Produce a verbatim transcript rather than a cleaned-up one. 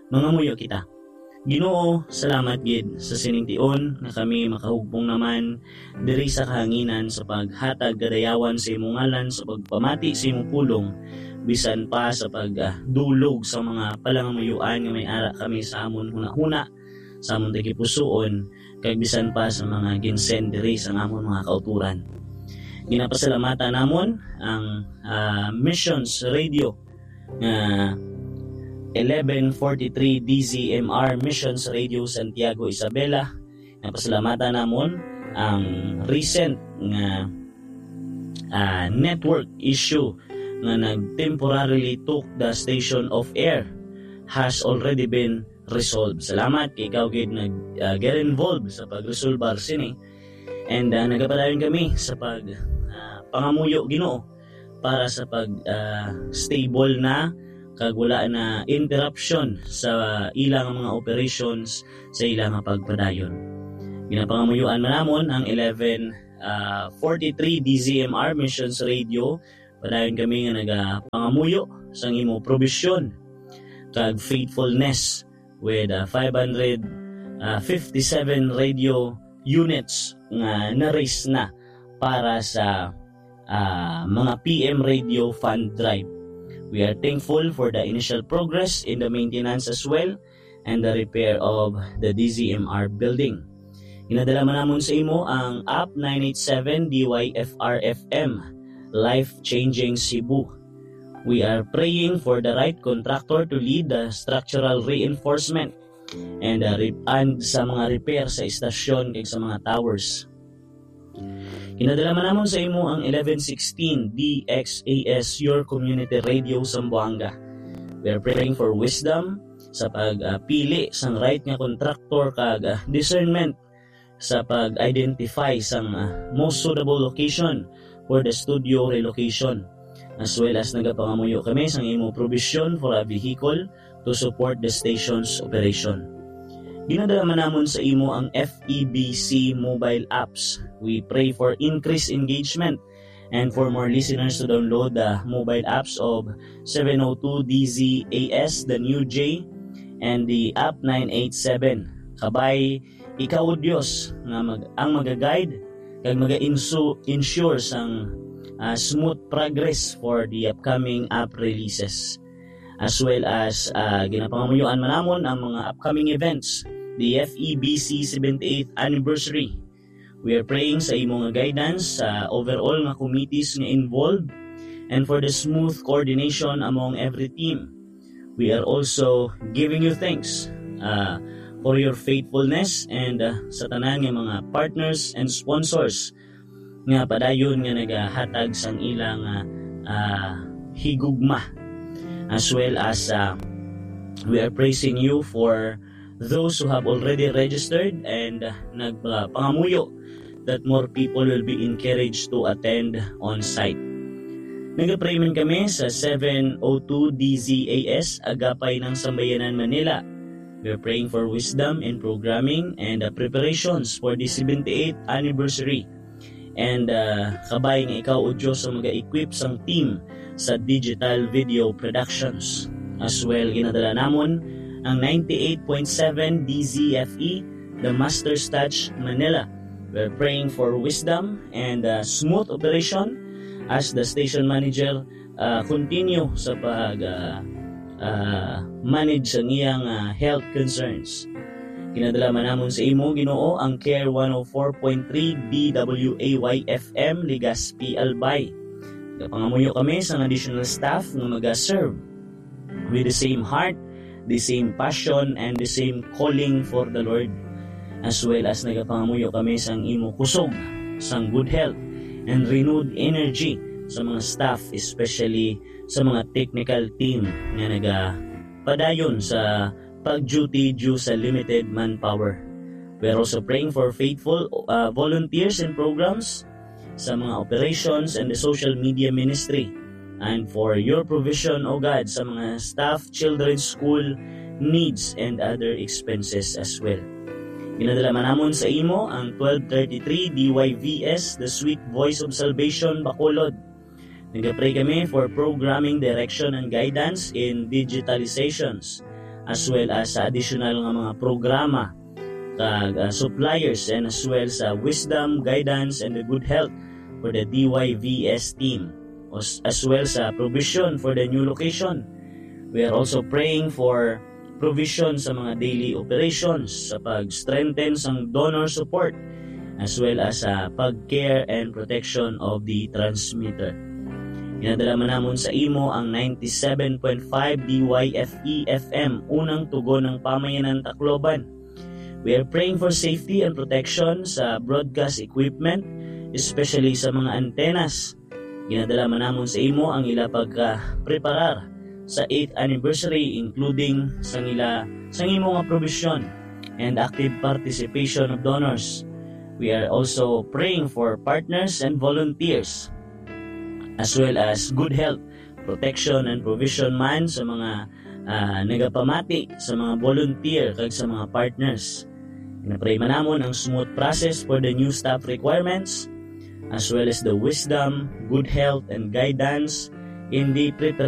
Mangamuyo kita. Ginoo, salamat gid sa sining tion nga kami makahugpong naman diri sa kahanginan sa paghatag kadayawan sa imong ngalan sa pagpamati sa imong pulong, bisan pa sa pagdulog sa mga palangamuyoan nga may ara kami sa amon hunahuna, sa amon tagipusoon, kag bisan pa sa mga ginsend diri sa amon mga kauturan. Ginapasalamatan namon ang ah, Missions Radio nga eleven forty-three D Z M R Missions Radio Santiago, Isabela. Napasalamatan namon ang recent nga ah, network issue nga nag-temporarily took the station off air has already been resolved. Salamat kay ikaw gid nag ah, get involved sa pagresolbar sini. And ah, nagapadayon kami sa pag ah, pangamuyo, Ginoo, para sa pag ah, stable na kag wala na interruption sa ilang mga operations, sa ilang pagpadayon. Ginapangamuyoan man namon ang eleven ah, forty-three D Z M R Missions Radio. Padayon kami nga nagapangamuyo sang imo probisyon kag faithfulness with ah, five hundred fifty-seven radio units nga na-raise na para sa ah, mga P M Radio Fund Drive. We are thankful for the initial progress in the maintenance as well and the repair of the D Z M R building. Ginadala man namon sa imo ang App nine eight seven D Y F R F M, Life Changing Cebu. We are praying for the right contractor to lead the structural reinforcement and, uh, re- and sa mga repair sa istasyon kag sa mga towers. Ginadala man namon sa imo ang eleven sixteen D X A S, Your Community Radio Zamboanga. We are praying for wisdom sa pagpili sang right nga contractor kag, ah, discernment sa pag-identify sang, ah, most suitable location for the studio relocation, as well as nagapangamuyo kami sang imo provision for a vehicle to support the station's operation. Ginadala man namon sa imo ang F E B C mobile apps. We pray for increased engagement and for more listeners to download the mobile apps of seven oh two D Z A S, the New J, and the App nine eight seven. Kabay, ikaw, O Dios, nga mag- ang magaguide kag maga-insu- ensure sang, ah, smooth progress for the upcoming app releases. As well as, ah, ginapangamuyoan man namon ang mga upcoming events, the F E B C seventy-eighth anniversary. We are praying sa imo nga guidance sa overall nga committees nga involved and for the smooth coordination among every team. We are also giving you thanks, ah, for your faithfulness and, ah, sa tanan nga mga partners and sponsors nga padayon nga nagahatag sang ilang, ah, ah, higugma, as well as, ah, we are praising you for those who have already registered and, ah, nagpangamuyo that more people will be encouraged to attend on site. Nagapray man kami sa seven oh two D Z A S Agapay ng Sambayanan, Manila. We're praying for wisdom in programming and, uh, preparations for the seventy-eighth anniversary. And, uh, kabay nga ikaw, O Diyos, ang mag-equip sang team sa digital video productions. As well, ginadala namon ang ninety-eight point seven D Z F E, The Master's Touch, Manila. We're praying for wisdom and, uh, smooth operation as the station manager, uh, continue sa pag, uh, uh, manage sa iyang, uh, health concerns. Ginadala man namon sa imo, Ginoo, ang Care one oh four point three D W A Y F M, Legazpi, Albay. Nagapangamuyo kami sang additional staff nga maga-serve with the same heart, the same passion, and the same calling for the Lord. As well as nagapangamuyo kami sang imo kusog, sang good health, and renewed energy sa mga staff, especially sa mga technical team nga nagapadayon sa pag-duty due sa limited manpower. We're also praying for faithful, uh, volunteers and programs sa mga operations and the social media ministry, and for your provision, O God, sa mga staff, children's school needs, and other expenses as well. Ginadala man namon sa imo ang twelve thirty-three D Y V S, The Sweet Voice of Salvation, Bacolod. Nagapray kami for programming, direction, and guidance in digitalizations, as well as sa additional nga mga programa kag, ah, suppliers, and as well sa wisdom, guidance, and the good health for the D Y V S team, as, as well sa provision for the new location. We are also praying for provision sa mga daily operations, sa pag-strengthen sang donor support, as well as sa pag-care and protection of the transmitter. Ginadala man namon sa imo ang ninety-seven point five D Y F E F M, unang tugon ng pamayanan Tacloban. We are praying for safety and protection sa broadcast equipment, especially sa mga antennas. Ginadala man namon sa imo ang ila pagka-preparar sa eighth anniversary, including sang ila, sang imo nga provision and active participation of donors. We are also praying for partners and volunteers, as well as good health, protection, and provision man sa mga, ah, nagapamati, sa mga volunteer, kag sa mga partners. Ginapray man namon ang smooth process for the new staff requirements, as well as the wisdom, good health, and guidance in the preparation